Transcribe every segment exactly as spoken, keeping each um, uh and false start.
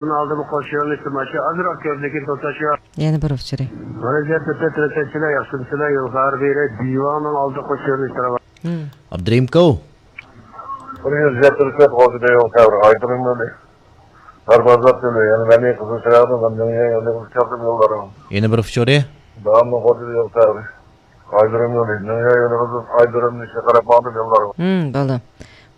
ئالدىمۇ قوش يۆنىلىشتە ماشىنا ئازراق كۆپ، لېكىن توساش يوق. يەنە بىر ئۇچۇرى. مۇرەججەت تۆتتە تۆتىنچىلەر ياخشىمۇسىلەر؟ يول خەۋەر بېرەي، دىۋانىڭ ئالدى قوش يۆنىلىشتە راۋان. ھىم. ئابدۇرېھىمكوۋ. بۇنى يۈز يەتتە تۆت غوزىدا يول خەۋىرى، ئايدۇرۇم يولى. داربازات يولى، يەنە مەنى قىزىل چىراغدىن مەننىڭ يولىغا چاپتىم يوللارغا. يەنە بىر ئۇچۇرى. داۋاملىق غوزىدا يول خەۋىرى. ئايدۇرۇم يولى، مەننىڭ يولىغا ئايدۇرۇمنى ئىشقا قاراپ ماڭدىم يوللارغا. ھىم، بولدى.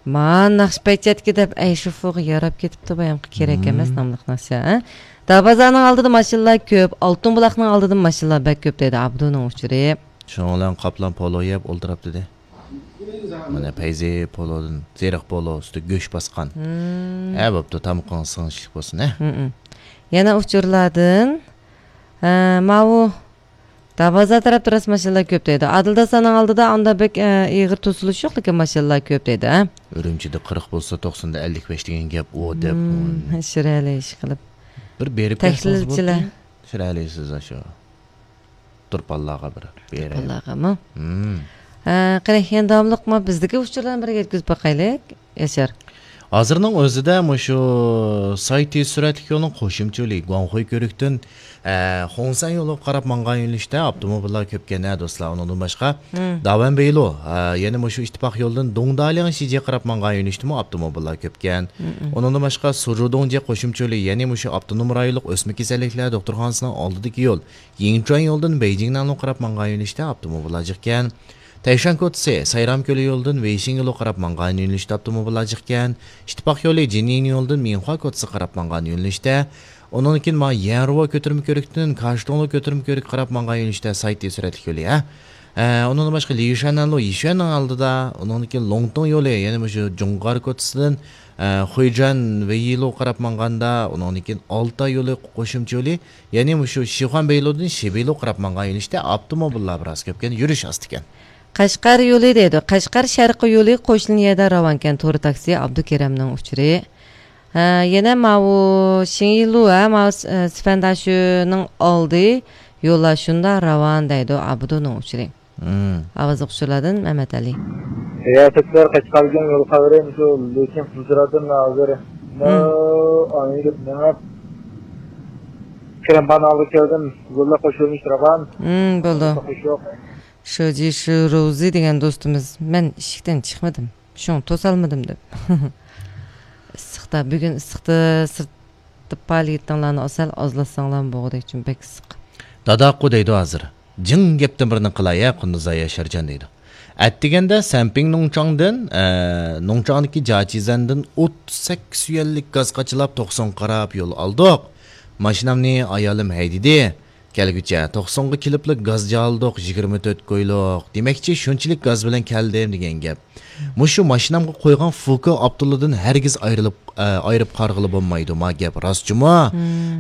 ما ناخشىپەيچەتكى دەپ ئەي شۇفۇغا ياراپ كېتىپتۇ بايامقى، كېرەك ئەمەس ناملىق ناخشا، ھە؟ داربازانىڭ ئالدىدا ماشىنىلار كۆپ، ئالتۇن بۇلاقنىڭ ئالدىدا ماشىنىلار بەك كۆپ دەيدۇ ئابدۇنىڭ ئۇچۇرى. شۇنىڭ بىلەن قاپلان پولو يەپ ئولتۇراپتىدى. مانا پەيزى پولودىن، زېرىق پولو ئۈستى گۆش باسقان. ھە، بوپتۇ، تامىقىڭىز سىڭىشلىك بولسۇن، ھە. يەنە ئۇچۇرلاردىن، ھە، ماۋۇ دارۋازا تەرەپتە راست ماشىنىلار كۆپ دەيدۇ. ئادىل داسانىڭ ئالدىدا ئاندا بەك، ئە، ئېغىر توسۇلۇش يوق، لېكىن ماشىنىلار كۆپ دەيدۇ، ھە؟ ئۈرۈمچىدە قىرىق بولسا، توقساندا ئەللىك بەش دېگەن گەپ ئۇ دەپ. شىرئەلى ئىشقىلىپ. بىر بېرىپ كەلسىڭىز بولدى. تەھلىلچىلەر. شىرئەلى سىز ئاشۇ تۇرپانلارغا بىر بېرىپ. تۇرپانلارغىمۇ؟ ھە، قېنى، يەنە داۋاملىق ما بىزدىكى ئۇچۇرلارنى بىر يەتكۈزۈپ باقايلى. ياشار. ھازىرنىڭ ئۆزىدە مۇشۇ ساي تېز سۈرئەتلىك يولنىڭ قوشۇمچە يولى گۇاڭخۇي كۆۋرۈكتىن، ئە، خۇڭسەن يولىغا قاراپ ماڭغان يۆنىلىشتە ئاپتوموبىللار كۆپكەن، ھە، دوستلار. ئۇنىڭدىن باشقا، داۋەنبېيلۇ، ئە، يەنە مۇشۇ ئىتتىپاق يولىدىن دۇڭدالياڭ شىجيې قاراپ ماڭغان يۆنىلىشتىمۇ ئاپتوموبىللار كۆپكەن. ئۇنىڭدىن باشقا، سۇجۇدۇڭجيې قوشۇمچە يولى، يەنى مۇشۇ ئاپتونوم رايونلۇق ئۆسمە كېسەللىكلەر دوختۇرخانىسىنىڭ ئالدىدىكى يول، يىڭچۈەن يولىدىن بېيجىڭنەنلۇ قاراپ ماڭغان يۆنىلىشتە ئاپتوموبىللار جىقكەن. تەيشان كوچىسى، سايرام كۆلى يولىدىن ۋېيشىڭ يولىغا قاراپ ماڭغان يۆنىلىشتە ئاپتوموبىللار جىقكەن. ئىتتىپاق يولى جىنيىڭ يولىدىن مىنخۇا كوچىسىغا قاراپ ماڭغان يۆنىلىشتە. ئۇنىڭدىن كېيىن مانا يەنرۇۋا كۆتۈرمە كۆۋرۈكتىن كاشتوڭلۇ كۆتۈرمە كۆۋرۈككە قاراپ ماڭغان يۆنىلىشتە ساي تېز سۈرئەتلىك يولى، ھە. ئە، ئۇنىڭدىن باشقا ليۇشەننەنلۇ يىشۈەننىڭ ئالدىدا، ئۇنىڭدىن كېيىن لوڭتۇڭ يولى، يەنە مۇشۇ جۇڭغار كوچىسىدىن ئە، خۇيجۈەن ۋېيلۇغا قاراپ ماڭغاندا، ئۇنىڭدىن كېيىن ئالتاي يولى قوشۇمچە يولى، يەنى مۇشۇ شىخۇەن بېيلۇدىن شىبېيلۇغا قاراپ ماڭغان يۆنىلىشتە ئاپتوموبىللار بىراز كۆپكەن، يۈرۈش ئاستىكەن. قەشقەر يولى دەيدۇ. قەشقەر شەرقىي يولى قوشنا يەردە راۋانكەن، تور تاكسى ئابدۇكېرەمنىڭ ئۇچۇرى. ھە، يەنە ماۋۇ شىڭيىلۇ، ھە، ماۋۇ س-، ئە، سىفەنداشۇنىڭ ئالدى يوللار شۇنداق راۋان دەيدۇ، ئابدۇنىڭ ئۇچۇرى. ئاۋازلىق ئۇچۇرلاردىن مەمەت ئەلى. رىياسەتچىلەر قەشقەرگە يول خەۋىرى مۇشۇ لېكىن فۇزرادىن ھازىر. مېڭىپ كىرىمپان ئالدىغا كەلدىم. يوللار قوشۇلمىش راۋان. بولدى. شۇجى شۇ روزى دېگەن دوستىمىز، مەن ئىشىكتىن چىقمىدىم. شۇڭا توسالمىدىم دەپ. ئىسسىقتا، بۈگۈن ئىسسىقتا سىرت دەپ پائالىيىتىڭلارنى ئاسان ئازلاتساڭلارمۇ بولغۇدەك، چۈنكى بەك ئىسسىق. داداقۇ دەيدۇ ھازىر. جىڭ گەپتىن بىرنى قىلاي ھە، قۇندۇزاي ياشارجان دەيدۇ. ئەتىگەندە سەنپىڭ نۇڭچاڭدىن، ئە، نۇڭچاڭدىكى جاچىزەندىن ئوتتۇز سەككىز يۈەنلىك گاز قاچىلاپ توقسۇنغا قاراپ يول ئالدۇق. ماشىنامنى ئايالىم ھەيدىدى. كەلگۈچە توقسۇنغا كېلىپلا گاز جالدۇق، يىگىرمە تۆت كويلۇق. دېمەكچى، شۇنچىلىك گاز بىلەن كەلدىم دېگەن گەپ. مۇشۇ ماشىنامغا قويغان فۇكو ئاپتولىدىن ھەرگىز ئايرىلىپ، ئە، ئايرىپ قارىغىلى بولمايدۇ، ما گەپ راستچۇمۇ؟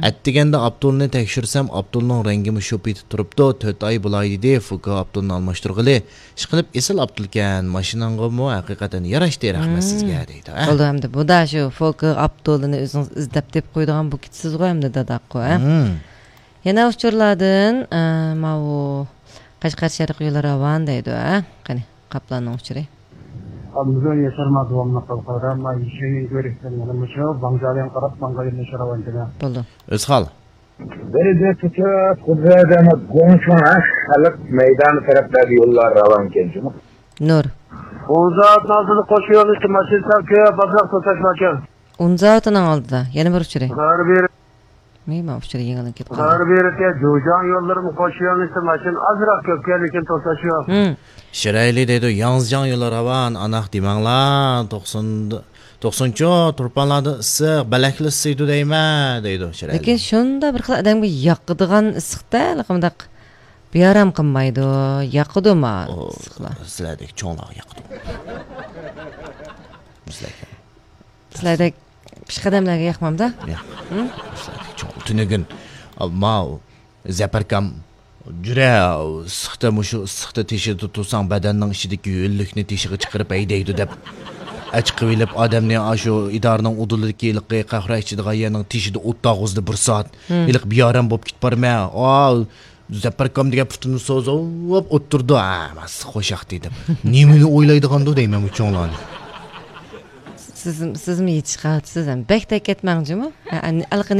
ئەتىگەندە ئاپتولنى تەكشۈرسەم، ئاپتولنىڭ رەڭگىمۇ شۇ پېتى تۇرۇپتۇ، تۆت ئاي بولاي دېدى، فۇكو ئاپتولنى ئالماشتۇرغىلى. ئىشقىلىپ ئېسىل ئاپتولكەن، ماشىناڭغىمۇ ھەقىقەتەن ياراشتى، رەھمەت سىزگە دەيدۇ، ھە؟ بولدى ئەمدى، بۇدا شۇ فۇكو ئاپتولىنى ئۆزىڭىز ئىزدەپ تېپىپ قويىدىغان بولۇپ كېتىسىزغۇ ئەمدى داداققۇ، ھە؟ يەنە ئۇچۇرلاردىن، ئە، ماۋۇ قەشقەر شەرقىي يولى راۋان دەيدۇ، ھە؟ قېنى، قاپلاننىڭ ئۇچۇرى. ئابدۇزور ياشار ما داۋاملىق قىلغاندا، ما يىشەنگەن كۆرۈشتىن يەنە مۇشۇ ۋاڭجالياڭ قاراپ ماڭغان يولنى شاراۋان جىنا. بولدى. ئۆزخال. بىرىدە تۇتۇپ، بىرىدە گۇڭچۇڭ، ھە؟ خەلق مەيدانى تەرەپلەردە يوللار راۋانكەن جۇمۇ. نۇر. ئۇنزاۋۇتنىڭ ئالدىدا قوش يۆنىلىشتە ماشىنا سەل كۆپ، ئازراق توساش باركەن. ئۇنزاۋۇتنىڭ ئالدىدا يەنە بىر ئۇچۇرى. غەربىي مېما ئۇچۇر يېڭىلىنىپ كەتكەن. غەربىي جۇجاڭ يوللىرىمۇ قوش يۆنىلىشتە ماشىنا ئازراق كۆپكەن، لېكىن توساش يوق. شىرەيلى دەيدۇ، ياڭزىجاڭ يولى راۋان، ئاناق دېمەڭلار، توقسۇن، توقسۇنچۇ، تۇرپانلاردا ئىسسىق، بەلەكلا ئىسسىيدۇ دەيمەن، دەيدۇ شىرەيلى. لېكىن شۇنداق بىر خىل ئادەمگە ياقىدىغان ئىسسىقتا، مۇنداق بىئارام قىلمايدۇ، ياقىدۇ ما ئىسسىقلار. سىلەردەك چوڭلارغا ياقىدۇ. سىلەردەك پېشقەدەملەرگە ياقمامدا؟ ياق. تۈنۈگۈن ماۋۇ زەپەركام، جۈرە ئىسسىقتا، مۇشۇ ئىسسىقتا تېشىدا تۇرساڭ، بەدەننىڭ ئىچىدىكى ھۆللۈكنى تېشىغا چىقىرىپ ھەيدەيدۇ دەپ ئەچىقىۋېلىپ، ئادەمنى ئاشۇ ئىدارىنىڭ ئۇدۇلىدىكى ھېلىقى قەھۋە ئىچىدىغان يەرنىڭ تېشىدا ئولتۇرغۇزدى بىر سائەت. ھېلىقى بىئارام بولۇپ كېتىپ بارىمەن. ئا، زەپەركام دېگەن پۇتىنى سوزۇپ ئولتۇرىدۇ. ھە، ماس خوشاق دېدىم. نېمىنى ئويلايدىغاندۇ دەيمەن بۇ چوڭلارنى. سىزمۇ يېتىشىپ قاپسىز ھەم بەك تەكەتمەڭ جۇمۇ. ئەلقى